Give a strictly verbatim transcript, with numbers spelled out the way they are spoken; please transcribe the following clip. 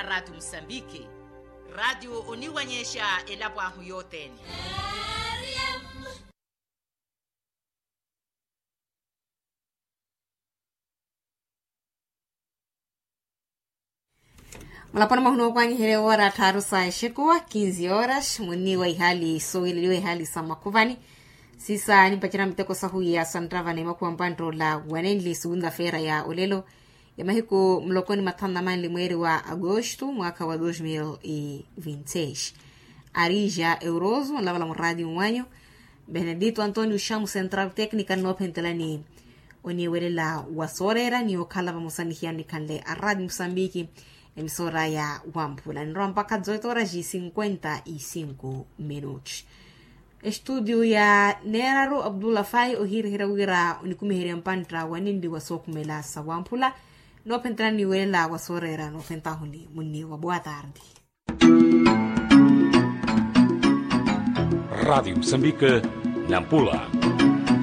Ratu musambiki. Ratu oniwanyexa elapo ahu yothene. Mulaponi mwahuna okwanyiherya ewora tthaaru sa exekuwa kinzi horas munni wa ihali soowileliwa ihali sa mwakhuvani. Sisa nimpacerya miteko sahuwiya sa nttava na emakhuwa mpanttoola wanenli sugunta feera ya olelo ya mahiku mulokoni mathanu na manli mweeri wa agosto mwaakha wa dos mil e vinti seis. Arija euroso onlavala muraati mwanyu benedito antonio xamu central tecnica nnoophentelani oniwelela wa sooreera ni okhala vamosa nihiyano nikhanle araati musambiki. Emisora ya wamphula nirwa mpakha zoito horas cinquenta e cinco minutos. Estudio ya neeraru abdullah fai ohiirihira wira onikumiherya mpantta wa ninli wa sookhumela sa wamphula noophentelani niwelela wa sooreera noophentahuni munni wa boa tarde. Ratu musambiki nampula.